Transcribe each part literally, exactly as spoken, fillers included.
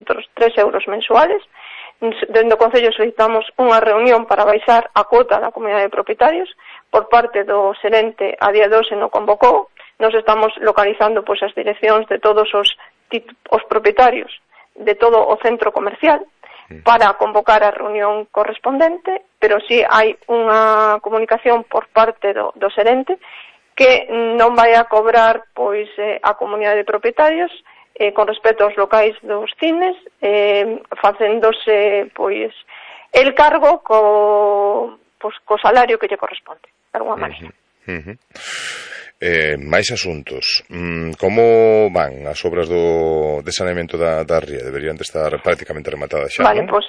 tres euros mensuales. Dende o Concello solicitamos unha reunión para baixar a cuota da comunidade de propietarios. Por parte do xerente, a día de hoxe non convocou. Nos estamos localizando pois as direccións de todos os, os propietarios de todo o centro comercial para convocar a reunión correspondente, pero si hai unha comunicación por parte do, do xerente que non vai a cobrar pois eh, a comunidade de propietarios eh, con respecto aos locais dos cines, eh, facéndose pois el cargo co, pois, co salario que lle corresponde, de alguma maneira. Uh -huh. Eh, máis asuntos. Mm, como van as obras do de saneamento da, da ría? Deberían de estar prácticamente rematadas xa, Vale, non? Pois,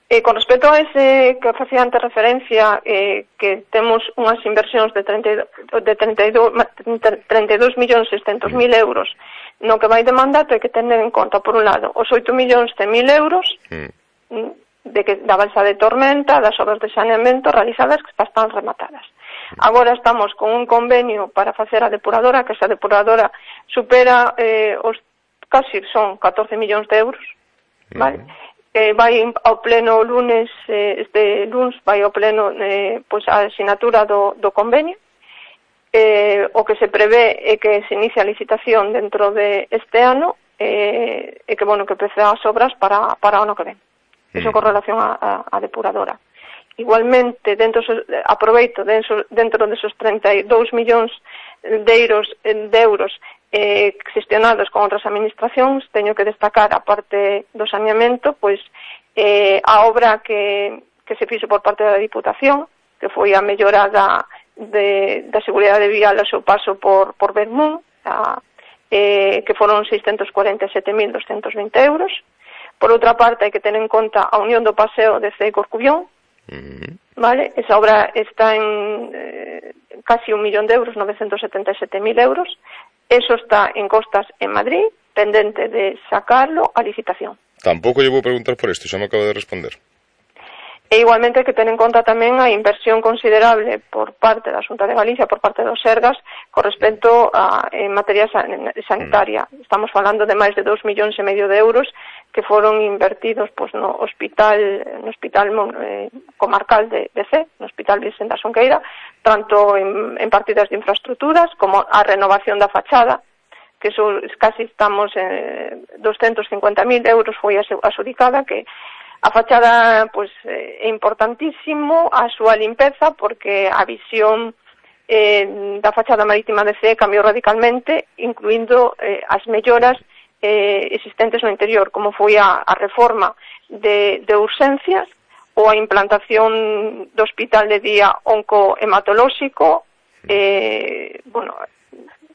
eh, con respecto a ese que facía antes referencia, eh, que temos unhas inversións de treinta e dous millóns seiscentos mil euros, no que vai de mandato hai que tener en conta, por un lado, os oito millóns cen mil euros mm. de que da balsa de Tormenta, das obras de saneamento realizadas que están rematadas. Agora estamos con un convenio para facer a depuradora, que esa depuradora supera eh, os casi son catorce millóns de euros, vale? Uh -huh. Eh, vai ao pleno lunes, eh, este lunes vai ao pleno eh, pois a asinatura do, do convenio. Eh, o que se prevé é que se inicie a licitación dentro de este ano eh, e que, bueno, que empece as obras para, para o ano que ven. Uh -huh. Eso con relación a, a, a depuradora. Igualmente, dentro aproveito dentro, dentro desos treinta e dous millóns de euros, de euros eh, gestionados con outras administracións, teño que destacar, a parte do saneamento, pois eh, a obra que, que se fixo por parte da Diputación, que foi a mellorada de, da seguridade vial ao seu paso por, por Bermún, a, eh, que foron seiscentos cuarenta e sete mil doscentos vinte euros. Por outra parte, hai que ter en conta a unión do paseo de Cee Corcubión. Uh-huh. Vale, esa obra está en eh, casi un millón de euros, novecientos setenta e sete mil euros. Eso está en costas en Madrid, pendente de sacarlo a licitación. Tampouco lle vou preguntar por isto, xa me acabo de responder. E igualmente hai que ter en conta tamén a inversión considerable por parte da Xunta de Galicia, por parte dos Sergas, con respecto a en materia sanitaria. Mm. Estamos falando de máis de dous millóns e medio de euros que foron invertidos pois, no hospital no hospital eh, comarcal de, de Cee, no Hospital Virxen da Xunqueira, tanto en, en partidas de infraestructuras como a renovación da fachada, que eso, casi estamos en doscientos cincuenta mil euros foi asudicada, que a fachada pois, é importantísimo a súa limpeza, porque a visión eh, da fachada marítima de Cee cambiou radicalmente, incluindo eh, as melloras eh, existentes no interior, como foi a, a reforma de, de urxencias ou a implantación do hospital de día oncohematolóxico, eh, bueno,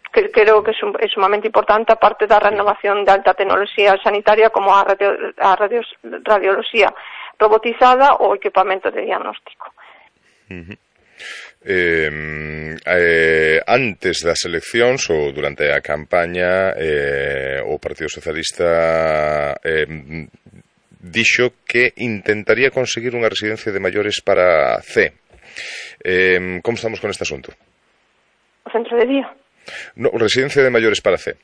que creo que é sumamente importante, aparte da renovación de alta tecnoloxía sanitaria como a, radio, a radio, radioloxía robotizada ou equipamento de diagnóstico. Uh-huh. eh, eh, antes das eleccións ou durante a campaña eh, o Partido Socialista eh, dixo que intentaría conseguir unha residencia de maiores para Cee. Eh, como estamos con este asunto? O centro de día. No, residencia de maiores para Cee.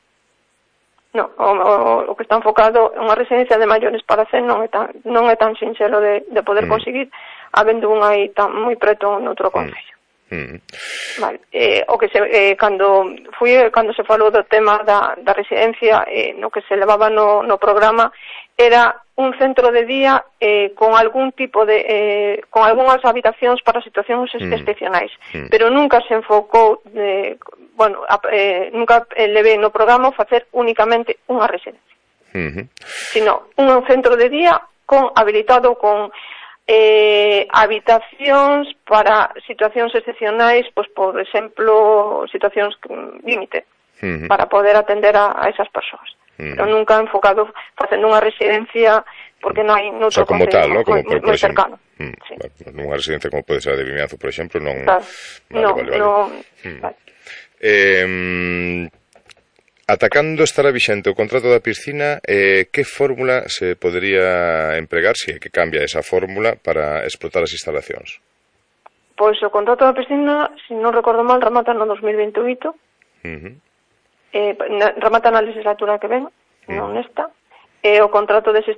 No, o, o, o que está enfocado en unha residencia de maiores para Cee non é tan, non é tan sinxelo de, de poder mm. conseguir, habendo unha aí tan moi preto noutro concello. Mm. Vale, eh, o que se, eh, cando fui, cando se falou do tema da, da residencia, eh, no que se levaba no, no programa era un centro de día eh, con algún tipo de eh, con algunhas habitacións para situacións mm. excepcionais, mm. pero nunca se enfocou eh, bueno, eh, nunca levei no programa facer únicamente unha residencia, mm-hmm. sino un centro de día con habilitado con eh, habitacións para situacións excepcionais, pois por exemplo, situacións límite, mm-hmm. para poder atender a, a esas persoas. Mm. Pero nunca enfocado facendo unha residencia porque non hai noutro, o sea, como tal, ¿no? Como moi, por, por moi cercano. Mm, sí. Vale, nunha residencia como pode ser a de Vimianzo, por exemplo, non... Claro. Vale, no, vale, vale. no, mm. vale. Eh, atacando estará vixente o contrato da piscina, eh, que fórmula se podería empregar, se é que cambia esa fórmula, para explotar as instalacións? Pois o contrato da piscina, se non recordo mal, remata no dos mil veintioito. Uh -huh. Eh, remata na legislatura que ven, non esta, e o contrato de xestión